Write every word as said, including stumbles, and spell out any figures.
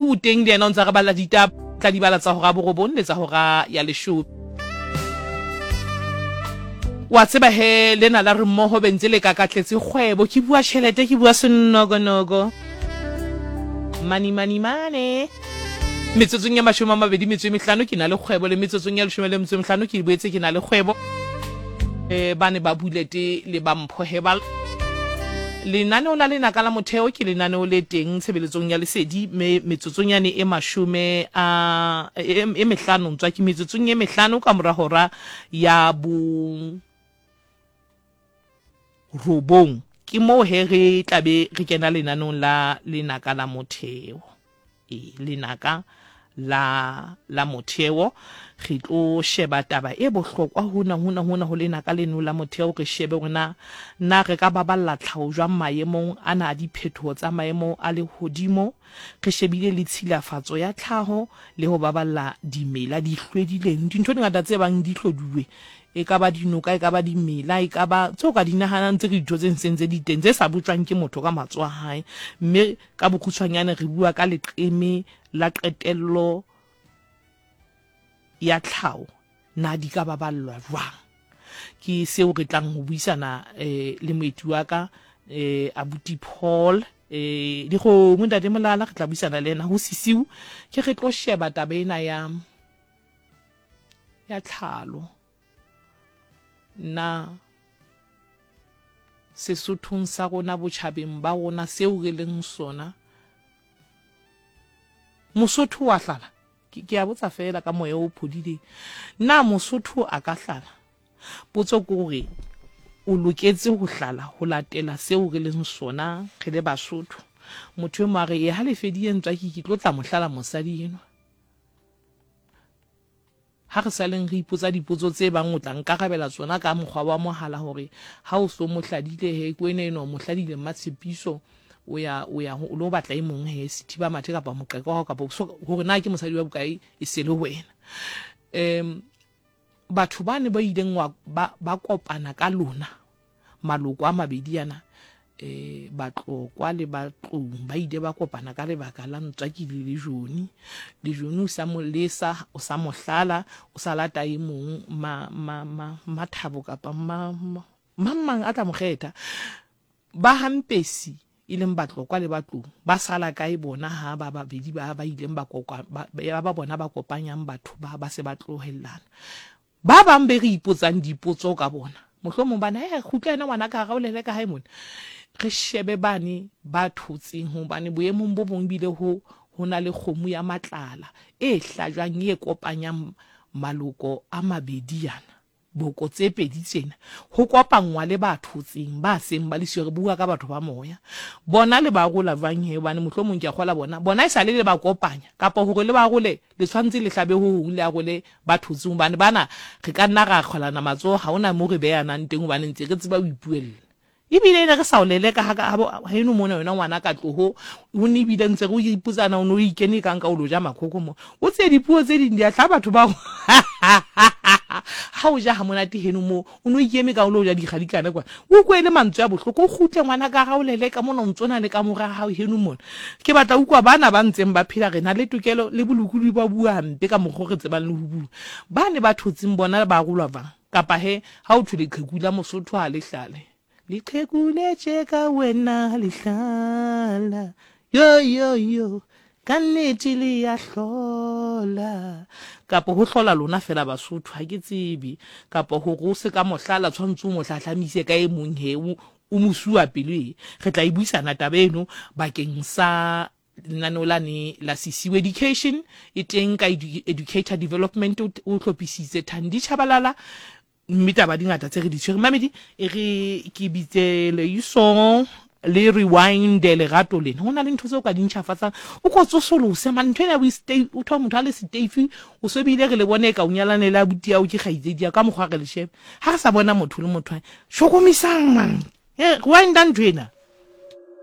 O teng le yena o ntsa re balla ditaba, tla di bala tsa hora borobong le tsa hora ya leshome. Wa tseba he lena la re mmoho bentse le kakatletse kgwebo, ke bua tjhelete, ke bua senokonogo, money money money. Metsotsong ya mashome a mabedi metso e mehlano ke na le kgwebo, le metsotsong ya leshome le metso e mehlano ke boetse ke na le kgwebo. Eh, ba ne ba bulete le ba Mpho Herbal. Lenaneo la Lenaka la Motheo ke lenaneo le teng tshebeletsong ya Lesedi, me metsotsong yane e mashome a e, e mehlano ntswa ke metsotsong e mehlano ka mora hora ya bo robong, ke moo he re tlabe re kena lenaneong la Lenaka la Motheo. E Lenaka la la Motheo re tlo sheba taba e bohlokwa hona hona hona ho Lenaka leno la Motheo. Re shebe hore na na re ka baballa tlhaho jwang maemong ana a diphetoho tsa maemo a lehodimo, re shebile le tshilafatso ya tlhaho le ho baballa dimela di hlwedileng, dintho di ngata tse bang di hloduwe, e ka ba dinoka, e ka ba dimela, e ka ba tseo ka di nahanang tse ke ditho tse ntseng tse di teng tse sa botjwang ke motho ka matsoho a hae. Mme ka bokgutshwanyane re bua ka leqeme la qetello ya tlhaho, na di ka baballwa jwang? Ke seo re tlang ho buisana eh, le moeti wa ka eh, abuti Paul eh, Dikgomo ntate Molala. Re tla buisana le yena ho sisiu, ke re tlo sheba taba ena ya ya tlhalo. Na Sesothong sa rona, botjhabeng ba rona, seo re leng sona, Mosotho wa hlala? Ke ke a botsa fela ka moya o phodileng, na Mosotho a ka hlala? Potso ke hore o loketse ho hlala ho latela seo re leng sona re le Basotho? Motho e mong a re e ha le fedile ntswa ke ke tlo tla mo hlala mosadi enwa. Ha re saleng re ipotsa dipotso tse bang o tla nkarabela tsona ka mokgwa wa mohala, hore ha o so mo hladile he ke wena enwa o mo hladile Mmatshepiso, o ya o ya o lo batla e mong he sethiba mathe kapa moqeka wa hao kapa so, hore na ke mosadi wa bokae e se le wena. Um batho ba ne ba ileng wa ba, ba kopana ka lona maloko a mabedi ana, eh Batlokwa le Batlou, ba ile ba kopana ka lebaka la Ntswaki le Lejoni. Lejoni o sa mo lesa, o sa mo hlala, o sa lata e mong ma ma ma Mathabo kapa ma mang mang a tla mo kgetha. Ba Hampesi e leng Batlokwa le Batlou ba sala kae bona ha ba babedi ba ba ileng ba koka ba ba bona ba kopanyang batho ba ba se ba tlohellana? Ba bang be re ipotsang dipotso ka bona, mohlomong bana he kgutla ena ngwana ka gaolele ka hae mona, re shebe bane ba thotseng, hobane boemong bo bong bile ho ho na le kgomo ya matlala e hlajwang e kopanyang maloko a mabedi ana, boko tse pedi tsena, ho kopanngwa le ba thotseng ba seng ba le siyo. Re bua ka batho ba moya, bona le ba rola jwang he? Hobane mohlomong ke a kgola bona bona e sale le ba kopanya, kapa hore le ba role le tshwanetse le hlabe ho hong, le arole ba thotseng, hobane bana re ka nna ra kgwelana matsoho, ha hona mo re beyanang teng, hobane ntse re tseba ho ipuella. Ebile ne re sa o leleka ha ka heno mona wena ngwana ka tloho, o ne ebile ntse re o ipotsana, o ne o ikene kang ka o lo ja makhokho mo, o tse dipuo tse ding di a hlaha batho ba ha o ja ha monate heno mo, o ne o ikeme ka o lo ja dikgadikana kwa, o utlwe le mantswe a bohloko, o kgutle ngwana ka ga o leleka mona, o ntso na le ka mora hao heno mona. Ke batla utlwa bana ba ntseng ba phela, re na le tokelo le bolokolohi ba bua hampe ka mokgwa o re tsebang le ho bua. Ba ne ba thotseng bona ba rolwa jwang? Kapa he ha o thwe leqheku la Mosotho ha le hlale, leqheku le tjeka wena le hlala, yo yo yo, ka nnete le ya hlola, kapa ho hlola lona fela Basotho? Ha ke tsebe. Kapa hore o se ka mohlala tshwanetse o mo hlahlamise ka e mong he o mo sua pelo e. Re tla e buisana taba eno bakeng sa lenaneo lane la Sisiwe Education e teng ka Educator Development, o hlophisitse Thandi Chabalala, mme taba di ngata tse re di tshwere. Mamedi, e re ke bitse Leiso le rewind lerato lena. Ho na le ntho tseo ka di ntjhafatsang, o ko tsosolose man ntho ena o thola motho a le seteifi, o so bile re le bone ka o nyalane le abuti ao ke kgaitsedi ya ka mokgwa re le shebe ha re sa bona motho le motho. Hlokomisang man, e rewinda ntho ena.